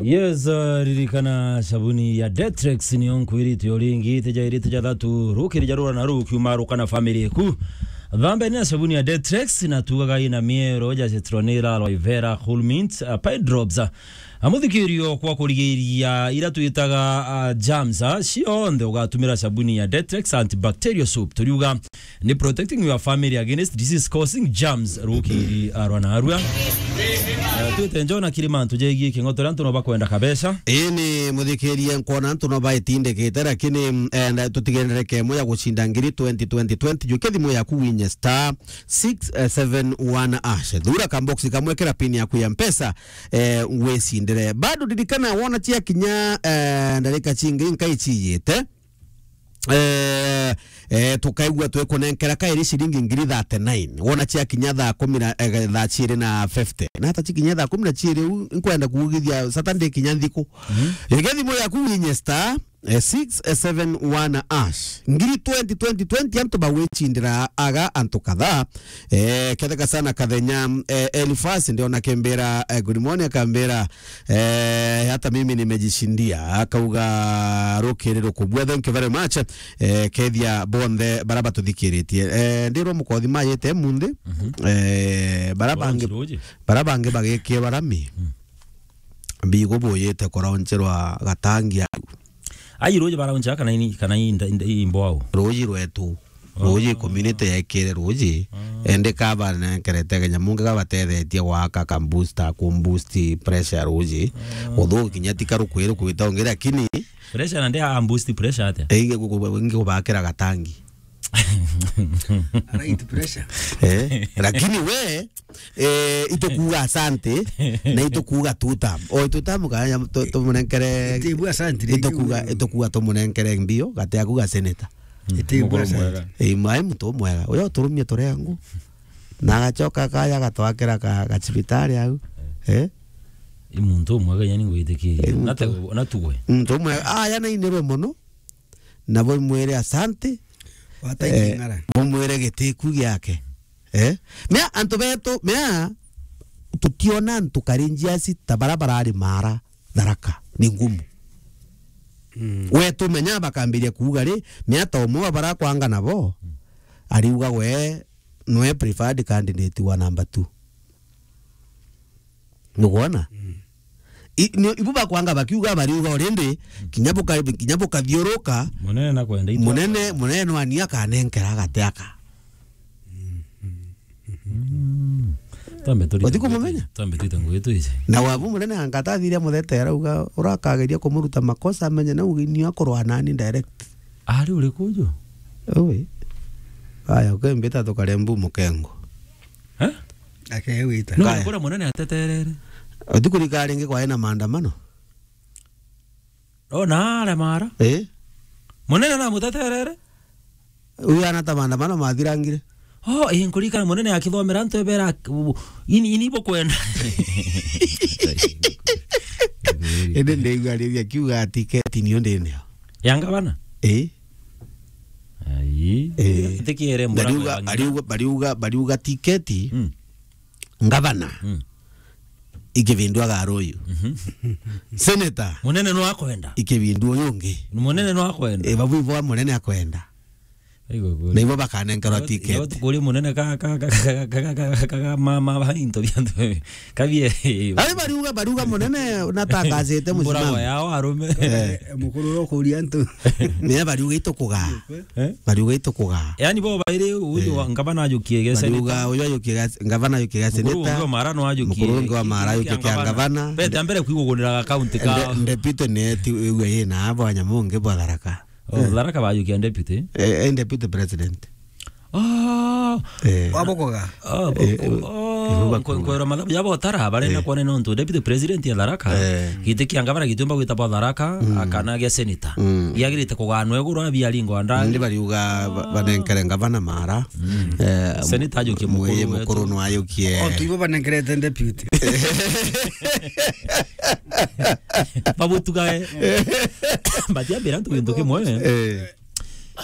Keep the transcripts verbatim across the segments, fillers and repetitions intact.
Yes, uh, ririkana sabuni ya Detrex niyo nkwirite o ringi, ite jairi, ite jathatu, rukiri ja rura na rukiuma ruka na family eku. Thambeni na sabuni ya Detrex na tugaga ina miero ja citronella, aloe vera, cool mint, uh, pine drops, uh, amuthikirio kwa kurigiria ira twitaga, uh, germs, uh, cionthe ugatumira sabuni ya Detrex antibacterial soap. Turiuga ni protecting your family against disease causing germs, rukiri arwa na arua. Eh, twite njona kiri mantu jegie king'otora antu no bakwenda kabeca. Ii ni muthikirie nkwona antu no baitindikite, lakini, eh, nda-, tutigendereke imwe ya gucinda ngiri twenty twenty twenty, jukia thimu yaku winye star six seven one hash. Thura kamboksi kamwe, kira pin yaku ya Mpesa, eh, wicindire. Bado ririkana wona cia kinya, eh, ndarika cingi nkai ciyite. Eh, eh, tukaigua twikunenkera kairi ciringi ngiri thirty-nine. Wona cia kinya thaa kumi na, eh, thaa ciiri na fifty. Na hata cikinya thaa kumi na ciiri u, nkwenda kuugithia Saturday kinya nthiku. Mhm. Igia thimu yaku winye star, eh, six seven one hash. Ngiri twenty, twenty, twenty, antu bagwicindira aga antu kadhaa. Eh, ketheka sana kathenya, eh, Elifas, ndio nakimbira, eh, good morning, akambira, eh, hata mimi nimejishindia, akauga rukiri rukubua, thank you very much. Eh, kethia bonthe bara batuthikiritie. Eh, ndirwo mukothi mayete munthi, mhm, eh, bara bangi, bara bangi bagikie barami. Mm. Bigo buyite kuraunchirwa gatangi au. Ai, ruji barauncha kana ini, kana inda, inda, imbo au? Ruji rwetu. Oh. Ruji community yekire ruji. Ah. Ende kaba nenkerete kenya mungi kabatethetie gwaka ka booster, ku boost pressure ruji. Ah. Uthu kinya ti karu kwiru kwita ungi, lakini pressure na ndia boost pressure atia? Ingi ku-, ku-, ingi kubakira gatangi. Right pressure. Eh, lakini we, eh, itukuuga asante, na itukuuga two term. O two term kanya tu-, tumunenkere. Itibu asante, itukuuga, itukuuga tumunenkere mbio, gati aku ga senator. Itibu asante. Mukuru mwega. Eh, mai muntu mwega. Uyo turumie turengu. Na agacoka kaya gatwakira ka, ka cibitari au. Eh? I muntu mwega yani ngwitikirie. Eh, muntu. Nate, natugwe. Muntu mwega. Ah, yana inirwe mono. Na bumwire asante. Wataiki, eh, ng'ara. Bumwire gitiku giake. Eh? Mea antu betu, mea tutiona antu kari njiaci ta bara barari mara Tharaka. Ni ngumu. Mm. We tumenya bakambiria kuuga ri, mea ta umwe wa bara kwanga nabo, ariuga we nwe preferred candidate wa number two. Nugwona? Mm. I-, ni, ibu bakwanga bakiuga bariuga already, kinya buka-, kinya bukathiuruka, munene nakwenda itu munene, munene no ani akanenkera agate aka. Mm. Twambe turi. Uti kumumenya? Twambe twite ngugi twije. Na wabu munene angata athiria muthetera uga urakageria kumuruta makosa amenye na ugi ni akorwa nani direct. Ari uri kuju? Ui. Aya, ukembita tukare mbu mukengo. Eh? Akewita. No, kaya. Kura munene ateterere. Uti kurika ringi kwa ena maandamano? O na aremara. Eh? Munene na muteterere? Uyu ana ta maandamano mathirangire. Oh, eh, nkurikana munene akithomera antu ebera, u-, ini, ini bukwenda. Indi ndigua riria kiuga tiketi niyo ndinio. Ya ngavana? Eh? Ai. Eh. Tikiere mbura. Bariuga, bariuga, bariuga, bariuga tiketi. Mm. Ngavana. Mm. Ikibindwa garuyu. Mhm. Senator. Munene no akwenda. Ikibindwa uyu ungi. Munene no akwenda. E, babu ibo munene akwenda. Aigo kuri. Na ibo bakanenkerwa ticket. Igo kuri munene ka, ka, ka, ma, ma, ba into bia ntu. Kabie. Ari bariuga, bariuga munene natangazite musimamo. Mbura yao arume. Eh. Mukuru ro kuria ntu. Ni bariuga itukuga. Eh? Bariuga itukuga. Yani bo bairi uyu, eh, wa ngavana ajukie ge senator. Bariuga uyu ajukie ga-, ngavana ajukie ga senator. Mukuru ungi wa Mara no ajukie. Mukuru ungi wa Mara ajukie kia ngavana. Bete mbere kwigugunira ga county ka. Nde-, deputy ni ti uwe yina abo anyamungi bwa Tharaka. Oh, eh. Tharaka bajukia deputy. Eh, eh, deputy president. Ah. Eh. Wabokoga. Ah, bo-, eh, oh, eh, oh, bakoga. Nkwera mathabu yabo tara barenda, eh, kuona nontu deputy president ya Tharaka. Eh. Giti kia ngavana gitiumba gwitagwa Tharaka, mm, akana gia senator. Mm. Giagirite kuganwa iguru abiaringwa ndagi. Ndi bariuga ba-, banenkere ngavana Mara. Mm. Eh, senator ajukie mukuru wetu. Mukuru no ajukie. O, tu ibo banenkerete deputy. Babutugae. Batiambira ntu gintu kimwe. Eh.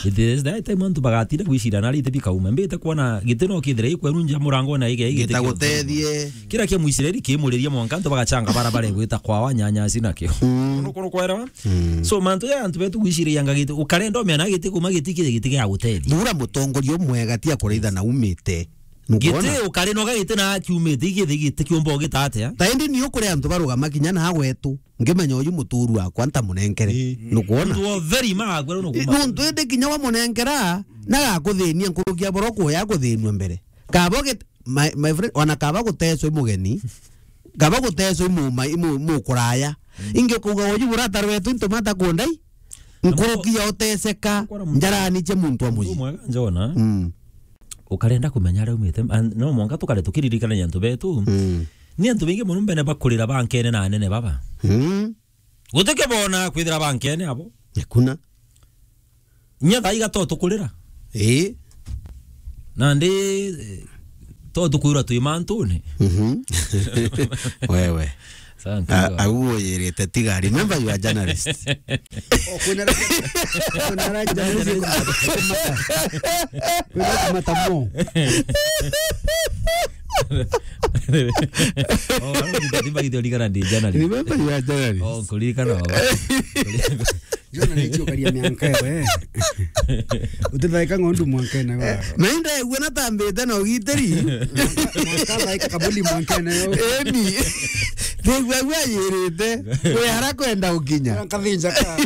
It is that time antu bagatinda gwicira na rite bikauma. Mbite kuona giti no kithire ikweru nja murango na ige ige. Gitagutethie. Kira kia Muisraeli kimuriria mwanka antu bagachanga barabara igwita kwawa nyanya cinakio. Mm. Kono kono kwera. Mm. So mantu ya antu betu gwicira yanga giti ukarenda umena giti kuma giti kire giti gia gutethia. Thura mutongoria umwega tia kureitha na umite. Nukwona? Giti ukarinoga giti na kiumite igithe giti kiumba ugita atia? Ta indi ni ukuri antu barugama kinya na gwetu. Ngimenya uyu muturu wakwa ntamunenkere. Ii. Nukwona? Ntu o very ma akwe nukwona. Nuntu indi kinya wamunenkera, na gakuthinia nkurukia boro kuya kuthinua mbere. Kaba git-, my, my friend, ona kaba gutecwa i mugeni, kaba gutecwa i mu-, ma-, i mu-, mukuraya. Mm. Ingi ukauga uyu burata rwetu ntumata kundai. Nkurukia uteceka, njarani cia muntu wa muji. Mwega njona. Mm. Ukarenda kumenya aria umite, and no mwanka tukare tukiririkanagia antu betu. Mm. Ni antu baingi mono mbene bakurira bankene na anene baba. Mm. Gutike bona kwithira bankene abo. Hakuna. Nya thaiga to tukurira. Ii. Nandi, eh, to tukwirwa twi mantune. Mhm. Wewe. Thank you, God. Au uyirite tiga. Remember you are journalist. Oh, kwina ra-, kwina ra journalist. Kwina kumata mo. Oh, ano ndio ndio ndio ndio ndio journalist. Remember you are journalist. Oh, kuririkana baba. Jona ni chukaria mianka ewe. Utithaika ng'ondu mwankene wa. Na inda egwe na tambite na ugitiri. Mwanka thaika kabuli mwankene yo. Eni. Tegwa gwa yirite. We ara kwenda ukinya. Kathinja ka.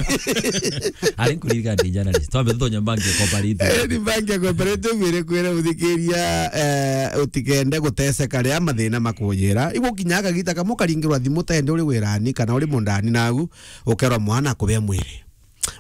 Ari nkuririka ndi journalist. Twambe tutonya bank ya cooperative. Eni bank ya cooperative ire kwira uthikiria, eh, utikende guteseka ria mathina makujira. Igukinya akagita kamwe karingirwa thimu tende uri wirani kana uri mundani nagu. Ukerwa mwana akubea mwiri.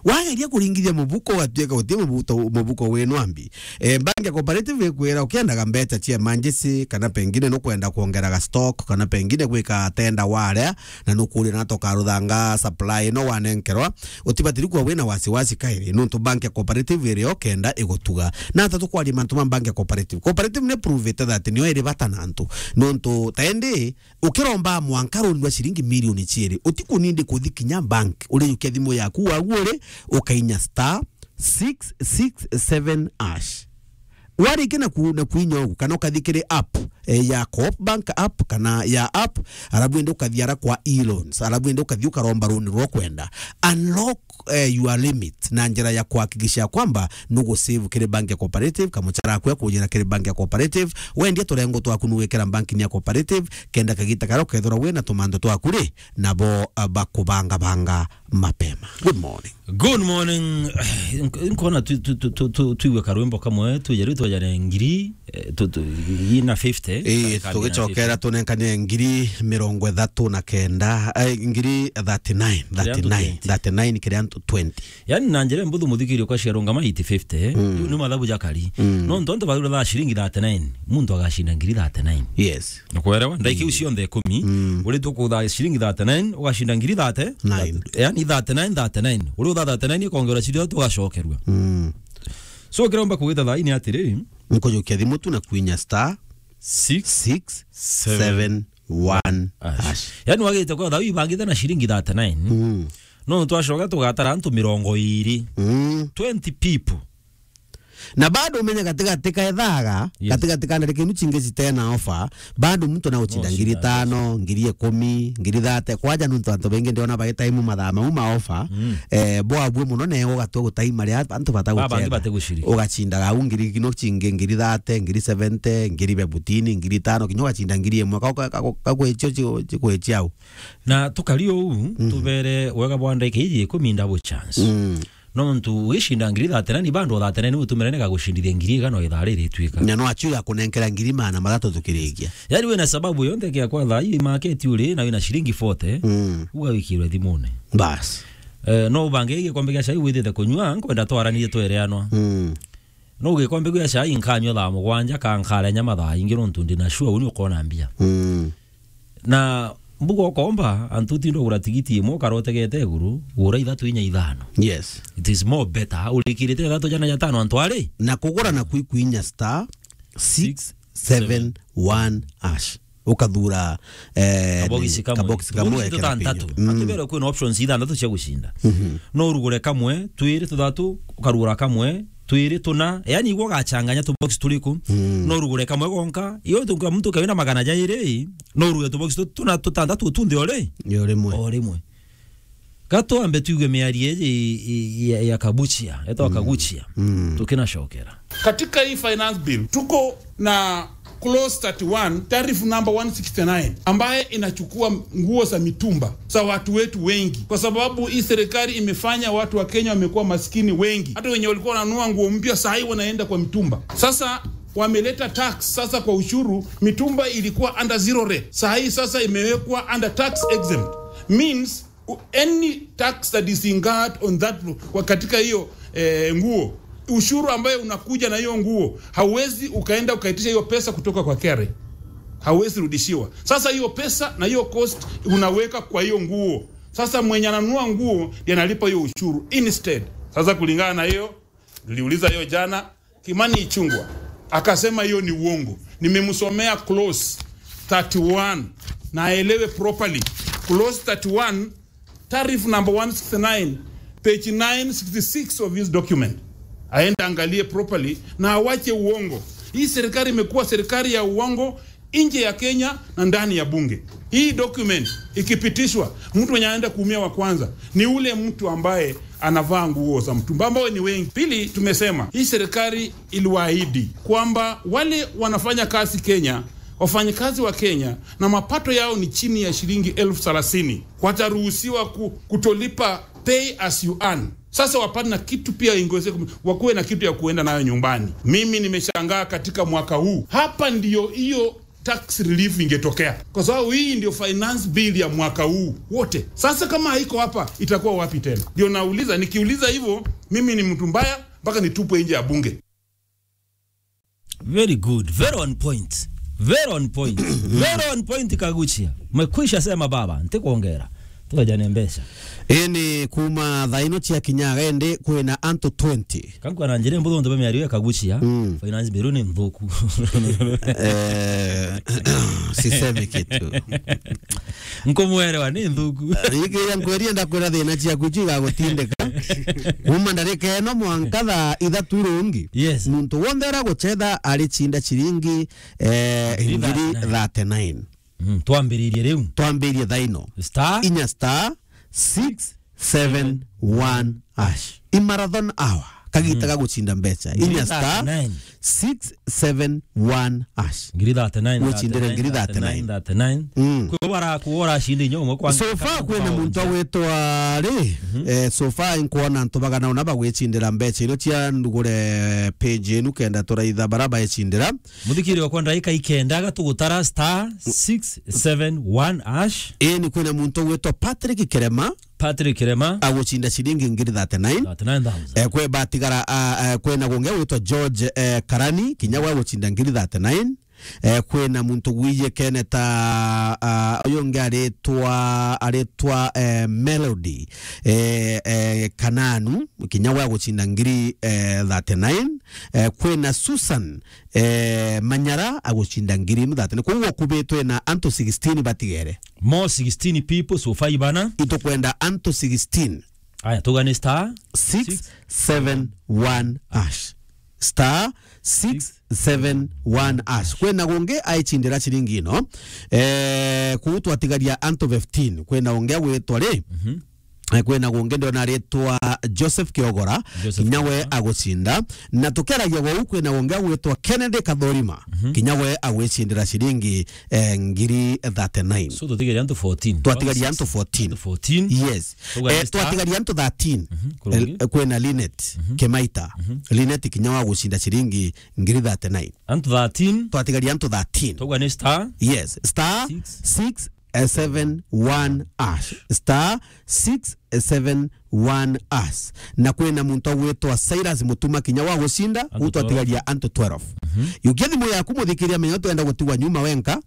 Wageria kuringithia mubuko ugatuika guti mubuto-, mubuko wi nwambi. Eh, bank ya cooperative ikwira ukiendaga mbeca cia emergency, kana pengine nukwenda kuongeraga stock, kana pengine gwika tenda warea, na nukuria na tokaruthanga supply ino wanenkerwa, utibatiri kuwa wina wasiwasi kairi, nuntu bank ya cooperative iri o kenda igutuga. Na ata tukwaria mantu ma bank ya cooperative. Cooperative ni prove that nio iri bata na antu. Nuntu ta indi, ukiromba mwanka runi rwa ciringi milioni ciiri, utikunindi kuthi kinya bank, urijukia thimu yaku wagu uri, ukainya star six six seven hash. Warikia na ku-, na kuinya ugu, kana ukathi kiri app, eh, ya Coop Bank app, kana ya app, arabu indi ukathi ara kwa e-loans, arabu indi ukathi ukaromba runi rwa kwenda. Unlock eh, your limit na njira ya kuhakikisha kwamba nugu save kiri bank ya cooperative, kamuchara aku akujira kiri bank ya cooperative, wendie turengo twaku nugwikira bank-ini ya cooperative, kenda kagita karia ukethirwa wina tumando twaku ri, nabo, ah, bakubangabanga mapema. Good morning. Good morning. Nk-, nkona tu-, tu-, tu-, tu-, tu-, tuigue karwimbo kamwe, tuje riu twajane ngiri, eh, tu-, tu-, ina fifty, eh, ka-, ka-, tugicokera tunenkane ngiri mirongo ithatu na kenda, eh, ngiri thirty-nine, thirty-nine, thirty-nine kiria antu twenty. Yani, na njira mbuthu muthikiri kwa cia rungama eight fifty, eh? Mm. Ni mathabu jakari. Mm. No ntonto bathura thaa ciringi thirty-nine, muntu agacinda ngiri thirty-nine. Yes. Nukwelewa? Ndaiki iu cionthe ikumi, mm, uri tukutha ciringi thirty-nine, ugacinda ngiri thirty. Nine. Yani, thirty-nine, thirty-nine. Uri utha thirty-nine, ikongera ciria tugacokerua. Mm. So, kiromba kugita thaa ini atiri, nkujukia thimu tu na kuinya star six six seven one hash. Hash. Yani, wagite kwa thaa ibangite na ciringi thirty-nine. Mm. No, twacoka tugatara antu mirongo iri. Mm. Twenty people. Na bado umenye gatigati ka ethaga, yes, gatigati ka ndarikinu cingi citena ofa, bado muntu na ucinda ngiri tano, ngiri ikumi, ngiri thirty. Kwaja nuntu antu baingi ndiona bagitaimu mathaa mau ma ofa. Mm. Eh, bwabue muno na ugatua gutaima ria antu batagucenda. Babangi batigucirika. Ugacindaga au ngiri kino cingi, ngiri thirty, ngiri seventy, ngiri fifteen, ngiri tano, kinya ugacinda ngiri imwe. Ka-, ka-, ka-, ka-, kagwicio ci-, cikwicia au. Na tukari uu, mm, tubere wega bwa ndaika iji ikumi double chance. Mm. Nontu ugicinda ngiri thirty-nine, bado thirty-nine utumire ni gagucindithia ngiri igana o ithaa riri itwika. Na no acio gakunenkera ngiri magana mathatu tukirikia. Yani wina sababu yonthe kia kwa thaa ii market uri, na wina ciringi forty, mm, ugawikirwe thimune. Bas. Eh, no ubange gikombe gia cai withite kunyua, nkwenda twaranie twereanwa. Mm. No gikombe gia cai nkanyua thaa mugwanja, ka nkarenya mathaa ingi nontu ndina sure uni ukona mbia. Mm. Na mbuga ukomba, antu utinda ugura tigiti imwe ukarotegete iguru, gura ithatu inya ithano. Yes. It is more better. Urikirite ithatu jana jatano antu ari. Na kugura na kwi-, kuinya star six seven one hash. Ukathura, eh, kabogisi kamwe. Kabogisi kamwe, tubogisi tuthantatu. Mm. Akibere kwina options ithanthatu cia gucinda. Mhm. No urugure kamwe, twiri, tuthatu, ukarugura kamwe, twiri, tuna. Yani, igwe ugachanganya tubox turiku. Mm. No urugure kamwe gonka. Iyo tunka muntu kawina magana jairi, no urugure tubox tu-, tuna, tutantatu tunthe ori? Yo rimwe. O rimwe. Ka twambe tuigue miario iji i-, i-, ya, ya Kabuchia, etwa Kaguchia. Mm. Tukinacokera. Katika hii finance bill, tuko na clause thirty-one, tariff number one sixty-nine, ambaye inachukua nguo za mitumba za watu wetu wengi, kwa sababu hii serikali imefanya watu wa Kenya wamekuwa maskini wengi. Hata wenye walikuwa wananunua nguo mpya, saa hii wanaenda kwa mitumba. Sasa wameleta tax sasa kwa ushuru, mitumba ilikuwa under zero rate. Saa hii sasa imewekwa under tax exempt. Means, u-, any tax that is incurred on that, kwa katika hiyo, eh, nguo, ushuru ambayo unakuja na hiyo nguo, hauwezi ukaenda ukaitisha hiyo pesa kutoka kwa K R A. Hauwezi rudishiwa. Sasa hiyo pesa na hiyo cost unaweka kwa hiyo nguo. Sasa mwenye ananunua nguo ndiye analipa hiyo ushuru instead. Sasa kulingana na hiyo, niliuliza hiyo jana, Kimani Ichung'wah akasema hiyo ni uongo. Nimemsomea clause thirty-one na aelewe properly. Clause thirty-one, tariff number one sixty-nine, page nine sixty-six of his document. Aende angalie properly na awache uongo. Hii serikali imekuwa serikali ya uongo nje ya Kenya na ndani ya bunge. Hii document ikipitishwa, mtu mwenye anaenda kuumia wa kwanza ni ule mtu ambaye anavaa nguo za mtumba, ambao ni wengi. Pili, tumesema hii serikali iliwaahidi kwamba wale wanafanya kazi Kenya, wafanyikazi wa Kenya na mapato yao ni chini ya shilingi elfu thelathini, wataruhusiwa ku-, kutolipa pay as you earn. Sasa wapate na kitu pia ingeweze kum-, wakuwe na kitu ya kuenda nayo nyumbani. Mimi nimeshangaa katika mwaka huu. Hapa ndio hiyo tax relief ingetokea. Kwa sababu hii ndio finance bill ya mwaka huu wote. Sasa kama haiko hapa, itakuwa wapi tena? Ndio nauliza, nikiuliza hivyo, mimi ni mtu mbaya mpaka nitupwe nje ya bunge. Very good. Very on point. Very on point. Very on point, Kaguchia. Umekwisha sema baba, ntikuongera. Tukaja ni mbeca. Ini kuma thaa ino cia kinyaga indi kwina antu twenty. Kangu ana njire mbuthu ndobe miario ya Kaguchia. Mm. Finance bill ni nthuku. Eh, sisemi kitu. Nkumwelewa ni nthuku. Ikiria nkweria ndakwira thina ciaku icio igagutindika. Kuma ndarika ino mwanka thaa ithatu irungi. Yes. Muntu wonthe uria gucetha ari cinda ciringi, eh, ngiri thirty-nine. Mm, twambiririe riu. Twambirie thaino. Star. Inya star six seven one hash. I marathon hour. Kagita ga gucinda mbeca. Inya star six seven one hash. Ngiri thirty-nine, wicindire ngiri thirty-nine. Thirty-nine. Mm. Kwi bara kuora cinde inyo umwe kwa. So far kwina muntu agwitwa ri, eh, so far nkwona antu bagana una bagwicindira mbeca ino cia ndugure page inu kenda turaitha bara baicindira. Muthikiri wakwa, ndaika ikenda, aga tugutara star six seven one hash. Ii, ni kwina muntu ugwitwa Patrick Kirema. Patrick Kirema. Agucinda ciringi ngiri thirty-nine. Thirty-nine thousand. Eh, kwe batigara, ah, eh, kwina gungi ugwitwa George, eh, Karani, kinya we agucinda ngiri thirty-nine. Eh, kwina muntu gwije kene ta, ah, uyu ungi aritwa, aritwa, eh, Melody, eh, eh, Kananu, kinya we agucinda ngiri, eh, thirty-nine. Eh, kwina Susan, eh, Manyara agucinda ngiri ithatu. Ni kwou gukubitwe na antu sixteen batigere. More sixteen people, so five bana. Itukwenda antu sixteen. Aya, tugane star six seven one hash. Star six seven one hash. Kwina gungi aicindira ciringi ino. Eh, kuu twatigaria antu fifteen. Kwina ungi agwitwa ri? Mhm. Eh, kwina gungi ndiona aritwa Joseph Kiogora, Joseph kinya we Kiogora agucinda. Na tukeragia gwau, kwina gungi agwitwa Kennedy Kathorima, mhm, kinya we agwicindira ciringi, eh, ngiri thirty-nine. So, twatigaria antu fourteen. Twatigaria antu fourteen. Antu fourteen. Yes. Tugane star. Eh, twatigaria antu thirteen. Mhm, kurungi. Eh, kwina Linet, mhm, Kimaita. Mhm. Linet kinya we agucinda ciringi ngiri thirty-nine. Antu thirteen. Twatigaria antu thirteen. Tugane star. Yes, star six. Six eh, seven one hash. Star six seven one hash. Na kwina muntu agwitwa Cyrus Mutuma kinya wa gucinda, antu twelve. Utwatigaria antu twelve. Mhm. Yukia thimu yaku, muthikiria, menya twenda gutigwa nyuma wenka,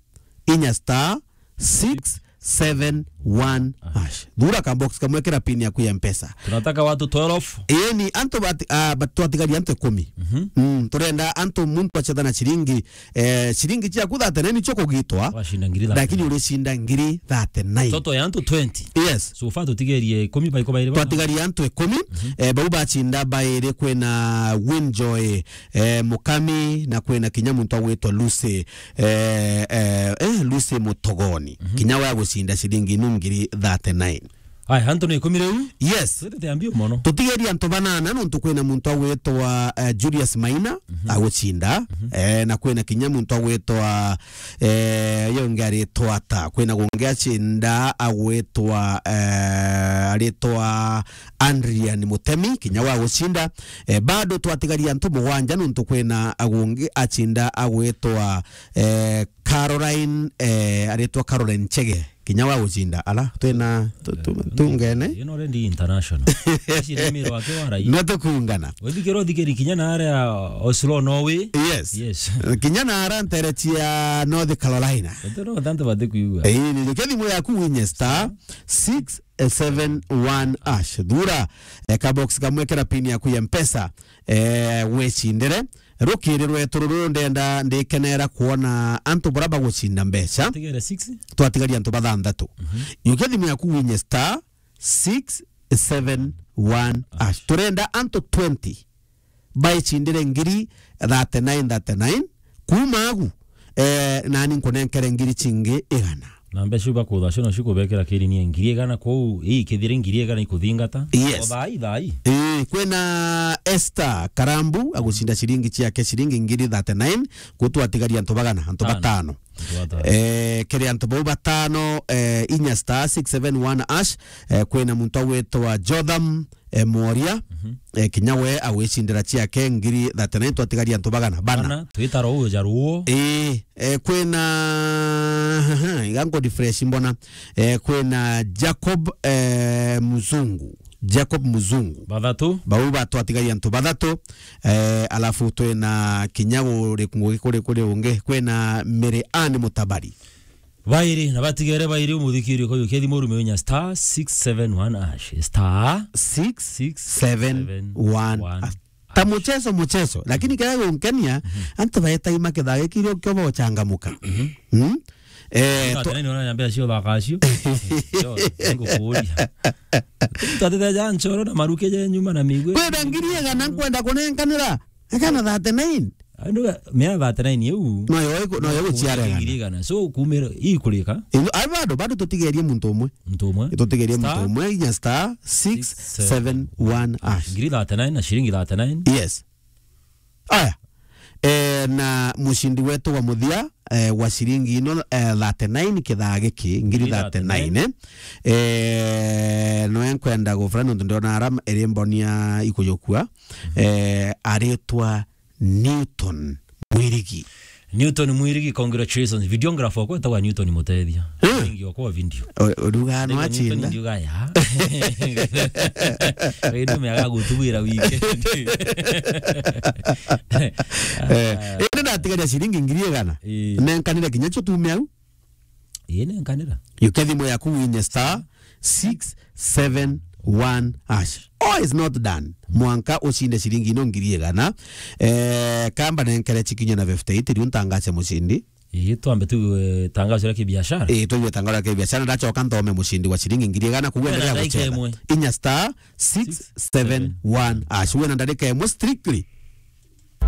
inya star six seven one hash. Thura ka box kamwe, kira pin yaku ya Mpesa. Tunataka watu twelve. Ii ni antu bati-, ah, bat-, twatigari antu ikumi. Mhm. Mm, turenda antu muntu acetha na ciringi, eh, ciringi ciaku thirty-nine nicio kugitwa. Wacinda ngiri thirty-nine. Lakini uricinda ngiri thirty-nine. Toto ya antu twenty. Yes. So far tutigerie ikumi baiko bairi ba? Twatigari antu ikumi, mhm, eh, bau bacinda bairi, kwina Winjoy, eh, Mukami, na kwina kinya muntu agwitwa Lucy, eh, eh, eh, Lucy Mutogoni. Mhm. Kinya we agucinda ciringi inu ngiri thirty-nine. Aya, antu ni ikumi riu? Yes. Twitite ambio mono. Tutigerie antu banana, nontu kwina muntu agwitwa, eh, Julius Maina, mhm, agucinda, mhm, eh, na kwina kinya muntu agwitwa, eh, yo ungi aritwa ata? Kwina gungi acinda agwitwa, eh, aritwa Adrian Mutemi, kinya wa gucinda. Eh, bado twatigaria antu mugwanja, nontu kwina agungi acinda agwitwa, eh, Caroline, eh, aritwa Caroline Chege, kinya wa gucinda. Ala, twina, tu-, tu-, tungene. You know, already international. Ici ni miro wake wa rai. No tukungana. Wethikira uthikiri kinya na aria Oslo, Norway. Yes. Yes. Kinya na aria ntere cia North Carolina. Wethikira antu batikuigua. Eh, ni thimu yaku winye star six seven one hash. Thura, eh, ka box kamwe kira pin yaku ya Mpesa, eh, wecindire. Rukiri rwetu ruru ndenda ndikenera kwona antu bura bagucinda mbeca. Tigere six. Twatigari antu bathanthatu. Mhm. Yukia thimu yaku winye star six seven one hash. Turenda antu twenty baicindire ngiri thirty-nine, thirty-nine. Kuma agu, eh, nani nkunenkere ngiri cingi igana. Na mbeca iu bakutha cio nacio kubekira kiri ni ngiri igana, kwou ii kithire ngiri igana ikuthingata. Yes. O thaa ii, thaa ii. Eh, kwina Esther Karambu agucinda ciringi ciake ciringi ngiri thirty-nine, gutwatigaria antu bagana, antu batano. Antu batano. Eh, kiri antu bau batano, eh, inya star six seven one hash, eh, kwina muntu agwitwa Jotham, eh, Mworia, mhm, eh, kinya we agwicindira ciake ngiri thirty-nine, twatigaria antu bagana, bana. Bana, twitara uja ruo. Eh, eh, kwina, iga nko refresh mbona. Eh, kwina Jacob, eh, Muzungu. Jacob Muzungu. Bathatu. Bau batwatigaria antu bathatu. Eh, alafu twina kinya kuri, kuri, kuri, kuri ungi. Kwina Mary Ann Mutabari. Bairi, na batigere bairi umuthikiri ukoyo kethi murume winya star six seven one hash. Star six seven one hash. Ta muchezo, muchezo. Lakini kaya gunkenia, mhm, antu baeta ima kithaa giki rio kio bochangamuka. Mhm. Mm? Eh, to- Tena ni ona nyambia cio thaka cio. Cio, ngukuria. Tatete ja nchoro na maruke je nyuma na migwe. Kwenda ngiri igana nkwenda kunenkanira. Akana thirty-nine. Andu mea thirty-nine iu. No yo iku-, no yo guciarega. Ngiri igana. So, kumira, ikurika? Ino, ai bado, bado tutigerie muntu umwe. Muntu umwe? Tutigerie muntu umwe, inya star six seven one hash. Ngiri thirty-nine na ciringi thirty-nine. Yes. Aya. Eh, na mucindi wetu wa muthia, eh, wa ciringi ino, eh, thirty-nine kithaa giki, ngiri thirty-nine, eh. Eh, noe nkwenda gufura nontu ndona ara iri mboni ya ikujukua. Mhm. Eh, aritwa Newton Mwirigi. Newton Mwirigi, congratulations. Videographer wakwa etagwa Newton Mutethia. Eh. Wingi wakwa wa video. O-, uruga no achinda. Newton ndiuga ya. Wewe ndio umeaga gutubwira weekend. Eh, indi ndatigaria ciringi ngiri igana. Eh. Nenkanire kinya cio tume au. Ii, nenkanira. Yukia thimu yaku winye star six seven one hash. All is not done. Mwanka ucinde ciringi ino ngiri igana. Eh, kamba nenkere cikinye na fifty-eight, riu ntangace mucindi. Ii, twambe tuigue tangazo ria kibiashara. Ii, tuigue tangazo ria kibiashara, ndacoka nthome mucindi wa ciringi ngiri igana, kugu endelea gucetha. Inya star six seven one hash. Wena ndarika imwe strictly.